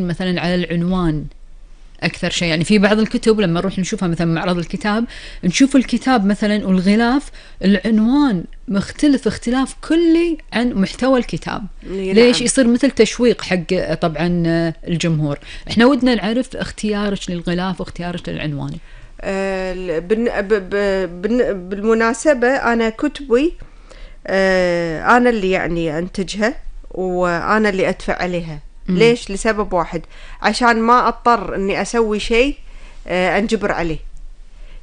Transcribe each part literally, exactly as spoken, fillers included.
مثلا على العنوان أكثر شيء. يعني في بعض الكتب لما نروح نشوفها مثلا معرض الكتاب، نشوف الكتاب مثلا والغلاف العنوان مختلف اختلاف كلي عن محتوى الكتاب. ليش؟ يصير مثل تشويق حق طبعا الجمهور. احنا ودنا نعرف اختيارك للغلاف واختيارك للعنوان. آه بالمناسبة أنا كتبي آه أنا اللي يعني أنتجها وأنا اللي أدفع عليها. مم. ليش؟ لسبب واحد، عشان ما أضطر أني أسوي شيء آه أنجبر عليه.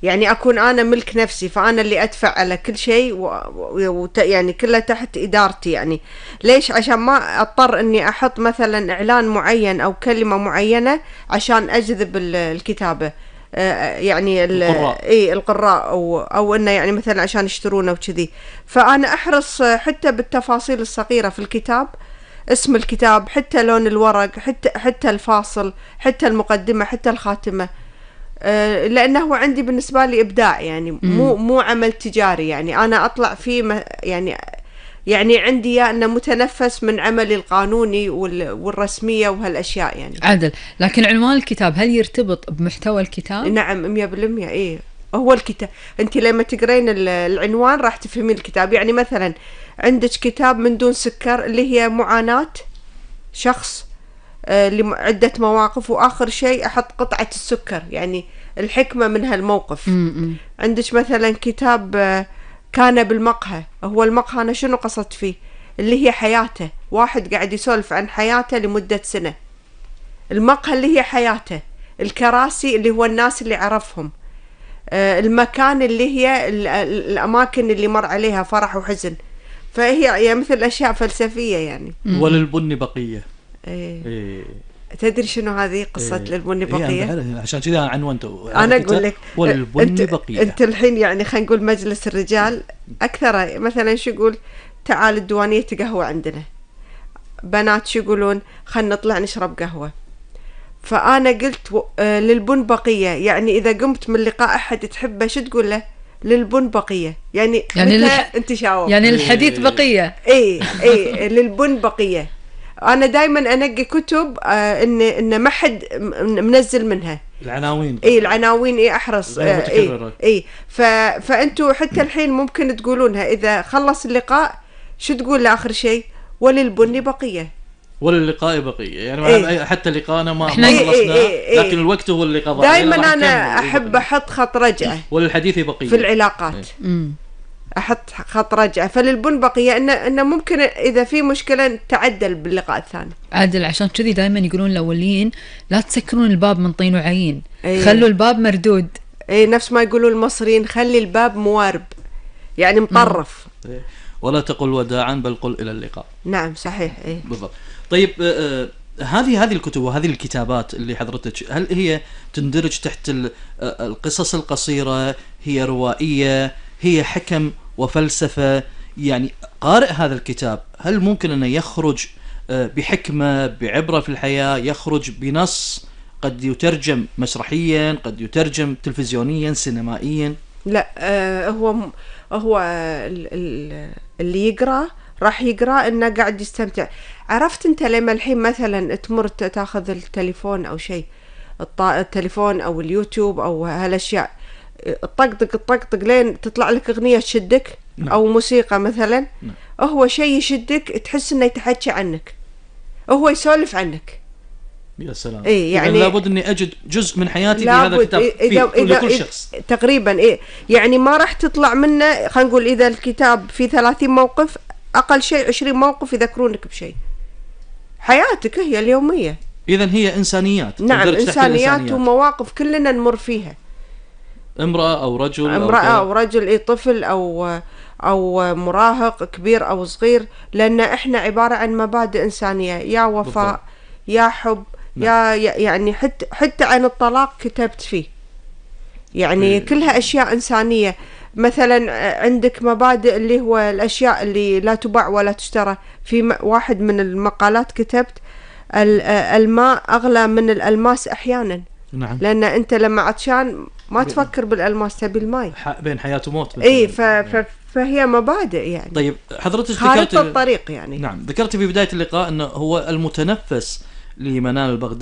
يعني أكون أنا ملك نفسي، فأنا اللي أدفع على كل شيء و... و... يعني كله تحت إدارتي. يعني ليش؟ عشان ما أضطر أني أحط مثلا إعلان معين أو كلمة معينة عشان أجذب الكتابة. آه يعني القراء. إيه القراء أو أو إنه يعني مثلا عشان يشترونه وكذي. فأنا أحرص حتى بالتفاصيل الصغيرة في الكتاب، اسم الكتاب، حتى لون الورق، حتى حتى الفاصل، حتى المقدمة، حتى الخاتمة. أه لأنه عندي بالنسبة لي إبداع، يعني مو مو عمل تجاري. يعني أنا أطلع فيه يعني يعني عندي يا أنه متنفس من عملي القانوني والرسمية وهالأشياء يعني. عدل. لكن عنوان الكتاب هل يرتبط بمحتوى الكتاب؟ نعم مية بالمية. إيه هو الكتاب. أنت لما تقرين العنوان راح تفهمين الكتاب. يعني مثلا عندك كتاب من دون سكر اللي هي معاناة شخص آه لعدة مواقف، وآخر شيء أحط قطعة السكر، يعني الحكمة من هالموقف. م-م. عندك مثلا كتاب آه كان بالمقهى. هو المقهى أنا شنو قصدت فيه؟ اللي هي حياته، واحد قاعد يسولف عن حياته لمدة سنة. المقهى اللي هي حياته، الكراسي اللي هو الناس اللي عرفهم، آه المكان اللي هي الأماكن اللي مر عليها فرح وحزن. فهي يعني مثل أشياء فلسفية يعني. وللبن بقية. إيه. إيه. تدري شنو هذه قصة إيه. للبن بقية؟ إيه عشان كذا عنوانته. أنا أقول لك وللبن أنت بقية. أنت الحين يعني خلينا نقول مجلس الرجال أكثر مثلا شو يقول تعال الديوانية قهوة عندنا. بنات شو يقولون خلنا نطلع نشرب قهوة. فأنا قلت و... آه للبن بقية. يعني إذا قمت من لقاء أحد تحبه شو تقول له؟ للبن بقية. يعني يعني الح... أنت شاوف يعني الحديث بقية. إيه إيه للبن بقية. أنا دائما أنقي كتب آه إن إن ما حد منزل منها العناوين. إيه العناوين إيه أحرص آه إيه إيه ف فأنتوا حتى الحين ممكن تقولونها إذا خلص اللقاء. شو تقول لآخر شيء؟ وللبن بقية. وللقاء بقية. يعني إيه؟ حتى لقاءنا ما خلصنا إيه إيه إيه لكن الوقت هو اللي قضى. دائما أنا أحب أحط خط رجعة وللحديث بقية في العلاقات. إيه؟ أحط خط رجعة. فللبن بقية إنه إنه ممكن إذا في مشكلة تعدل باللقاء الثاني. عادل. عشان كذي دائما يقولون الأولين لا تسكرون الباب من طين وعين. إيه؟ خلوا الباب مردود. إيه نفس ما يقولوا المصريين خلي الباب موارب، يعني مطرف. إيه؟ ولا تقل وداعا بل قل إلى اللقاء. نعم صحيح. إيه بالضبط. طيب آه هذه هذه الكتب وهذه الكتابات اللي حضرتك هل هي تندرج تحت القصص القصيرة؟ هي روائية؟ هي حكم وفلسفة؟ يعني قارئ هذا الكتاب هل ممكن أنه يخرج بحكمة بعبرة في الحياة، يخرج بنص قد يترجم مسرحيا، قد يترجم تلفزيونيا، سينمائيا؟ لا آه هو هو اللي يقرأ راح يقرأ إنه قاعد يستمتع. عرفت أنت لما الحين مثلا تمر تاخذ التليفون أو شيء، التليفون أو اليوتيوب أو هالأشياء، الطقطق الطقطق لين تطلع لك أغنية تشدك. نعم. أو موسيقى مثلا. نعم. هو شيء يشدك تحس إنه يتحكى عنك، هو يسولف عنك. يا سلام. إيه يعني لابد إني أجد جزء من حياتي في هذا الكتاب إذا في إذا كل شخص. تقريبا إيه يعني ما راح تطلع منه. خلينا نقول إذا الكتاب فيه ثلاثين موقف أقل شيء عشرين موقف يذكرونك بشيء حياتك هي اليومية. إذن هي إنسانيات. نعم إنسانيات ومواقف كلنا نمر فيها. امرأة أو رجل امرأة أو, أو رجل إيه طفل أو أو مراهق كبير أو صغير، لأن إحنا عبارة عن مبادئ إنسانية، يا وفاء بالضبط. يا حب. نعم. يا يعني حتى حتى عن الطلاق كتبت فيه. يعني إيه. كلها أشياء إنسانية. مثلا عندك مبادئ اللي هو الأشياء اللي لا تباع ولا تشترى. في واحد من المقالات كتبت الماء أغلى من الألماس أحيانا. نعم. لأن أنت لما عطشان ما تفكر بالألماس، تبي الماء. بين حياة وموت. إيه ف... ف... فهي مبادئ يعني. طيب حضرتك ذكرت الطريق يعني. نعم ذكرت في بداية اللقاء أنه هو المتنفس لمنال البغدادي